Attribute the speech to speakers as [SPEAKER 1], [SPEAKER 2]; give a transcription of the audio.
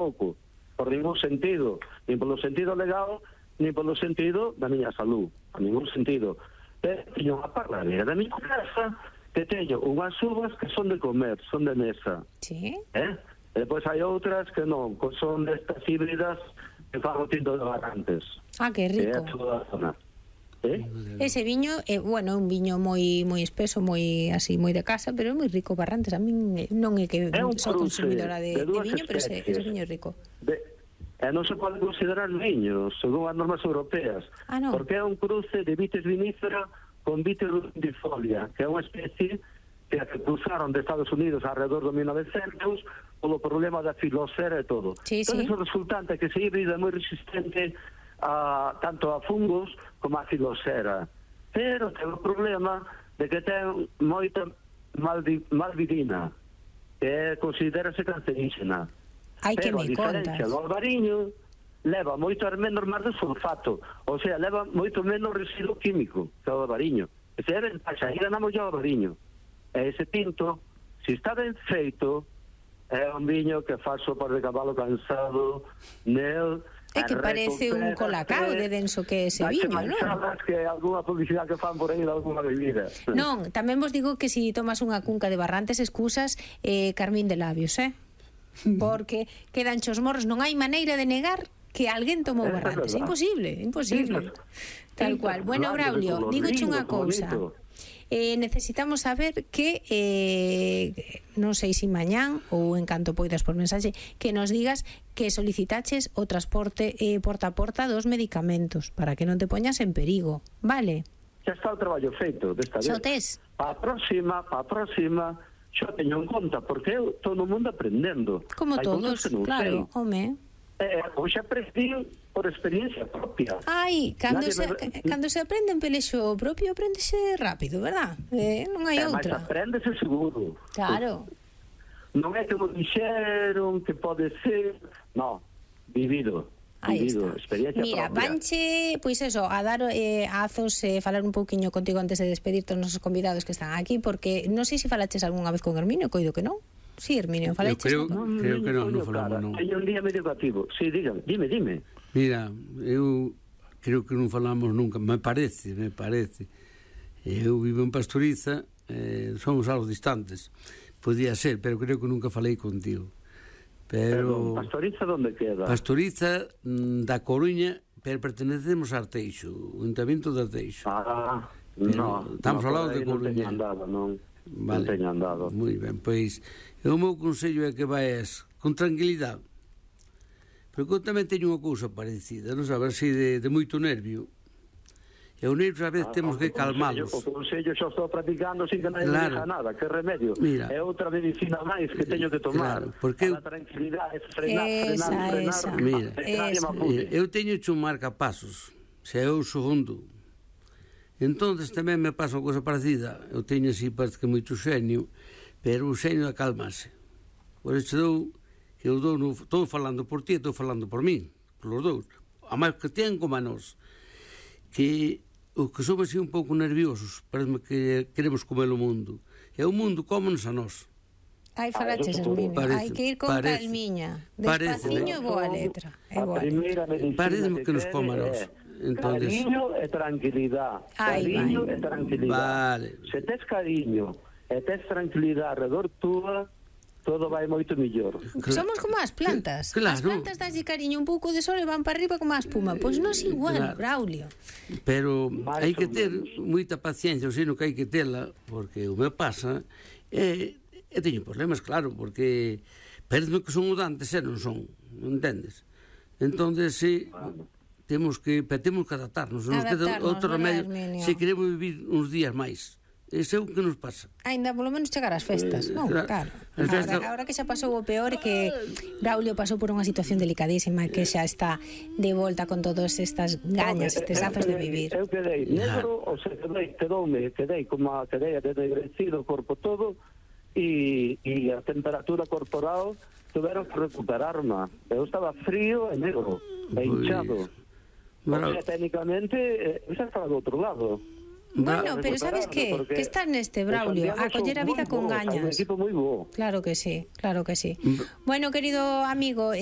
[SPEAKER 1] pouco, por ningún sentido, nin polo sentido legal, nin polo sentido da miña salud, por ningún sentido. Teño unha parraleira da miña casa que teño unhas uvas que son de comer, son de mesa.
[SPEAKER 2] Sí.
[SPEAKER 1] E depois hai outras que non, que son destas híbridas que fan o tinto de Barrantes.
[SPEAKER 2] Ah, que rico.
[SPEAKER 1] Que é toda a zona.
[SPEAKER 2] Ese viño é, bueno, un viño moi espeso, moi así, moi de casa, pero é moi rico. Barrantes, a min non é que sou consumidora de viño, pero ese viño é rico.
[SPEAKER 1] Non se pode considerar viño, según as normas europeas, porque é un cruce de vitis vinífera con vitis rundifolia, que é unha especie que cruzaron de Estados Unidos alrededor do 1900 polo problema da filosera e todo. Entón, o resultante é que ese híbrido é moi resistente tanto a fungos como a filosera, pero ten o problema de que ten moita malvidina, que considerase cancerígena. Pero a diferencia do albariño leva moito menos mar de sulfato, ou sea, leva moito menos residuo químico que o albariño. Ese é ventaxa, aí ganamos o albariño. E ese tinto, se está ben feito, é un viño que faz sopa de cabalo cansado, nel.
[SPEAKER 2] É que parece un colacao de denso que é ese viño, non?
[SPEAKER 1] Que algunha publicidade que fan por aí de alguna bebida.
[SPEAKER 2] Non, tamén vos digo que se tomas unha cunca de Barrantes excusas, carmín de labios, porque quedan chos morros, non hai maneira de negar que alguén tomou Barrantes, é imposible, imposible. Tal cual. Bueno, Braulio, dígoche unha cousa. Necesitamos saber que non sei se mañán ou en canto poidas por mensaxe, que nos digas que solicitaches o transporte porta a porta dos medicamentos para que non te poñas en perigo, vale?
[SPEAKER 1] Xa está o traballo feito desta vez.
[SPEAKER 2] Xo tes?
[SPEAKER 1] Pa a próxima xa teño en conta, porque eu todo o mundo aprendendo.
[SPEAKER 2] Como todos, claro, home.
[SPEAKER 1] Hoxe aprendi por experiencia propia.
[SPEAKER 2] Ai, cando se aprende en pelexo propio, aprendese rápido, verdad? Non hai outra.
[SPEAKER 1] Mas aprendese seguro.
[SPEAKER 2] Claro.
[SPEAKER 1] Non é que me dixeron que pode ser, non, vivido, experiencia
[SPEAKER 2] propia. Mira, vanche, pois eso, a dar azos, falar un pouquiño contigo antes de despedirte os nosos convidados que están aquí, porque non sei se falaches algunha vez con Herminio, coido que non. Sí, Herminio, falaches.
[SPEAKER 3] Creo que non falamos, non.
[SPEAKER 1] Hai un día medio cativo. Sí, dime.
[SPEAKER 3] Mira, eu creo que non falamos nunca, me parece. Eu vivo en Pastoriza, somos algo distantes. Podía ser, pero creo que nunca falei contigo. Pero
[SPEAKER 1] Pastoriza onde queda?
[SPEAKER 3] Pastoriza da Coruña, pero pertenecemos a Arteixo, o Ayuntamiento de Arteixo.
[SPEAKER 1] Non.
[SPEAKER 3] Estamos ao lado de Coruña.
[SPEAKER 1] Non teño andado.
[SPEAKER 3] Moi ben, pois o meu consello é que vayas con tranquilidade, porque eu tamén teño unha cousa parecida, non sabes, así de moito nervio, e os nervios a veces temos que calmalos.
[SPEAKER 1] O consello xa estou practicando sin que nadie me diga nada, que remedio. Mira, é outra medicina máis que teño que tomar, porque a tranquilidade, frenar.
[SPEAKER 3] Mira, eu teño hecho un marcapasos, se é o segundo. Entonces tamén me pasa unha cousa parecida. Eu teño así, parece que moito xenio, pero o xenio acalmase. Por iso estou falando por ti e estou falando por mí, por os dous. A máis que ten como a nós, que os que somos así un pouco nerviosos, parece que queremos comer o mundo. E o mundo cómonos a nós.
[SPEAKER 2] Ai, falaches, Herminio. Hai que ir con calmiña. Despaciño, boa letra.
[SPEAKER 3] Parece que nos coma a nós.
[SPEAKER 1] Cariño e tranquilidade. Cariño e tranquilidade. Se tes cariño e tes tranquilidade alrededor túa, todo vai moito mellor.
[SPEAKER 2] Somos como as plantas. As plantas daslle cariño un pouco de sol e van para arriba como a espuma. Pois non é igual, Braulio.
[SPEAKER 3] Pero hai que ter moita paciencia, ou sino que hai que tela, porque o me pasa e teño problemas, claro, porque parece que son mudantes e non son, entendes? Entón, si temos que adaptarnos, non queda outro remedio se queremos vivir uns días máis. Ese é o que nos pasa.
[SPEAKER 2] Ainda polo menos chegar ás festas, non? Claro. Agora que xa pasou o peor, que Braulio pasou por unha situación delicadísima, que xa está de volta con todas estas gañas, estes azos de vivir.
[SPEAKER 1] Eu quedei negro, ou sea, quedei como quedei degrecido o corpo todo, e a temperatura corporal tuveron que recuperarme. Eu estaba frío e negro, e hinchado. Porque técnicamente xa estaba do outro lado.
[SPEAKER 2] Bueno, pero sabes que está neste, Braulio, a coller a vida con gañas.
[SPEAKER 1] É un equipo moi bo.
[SPEAKER 2] Claro que sí, claro que sí. Bueno, querido amigo,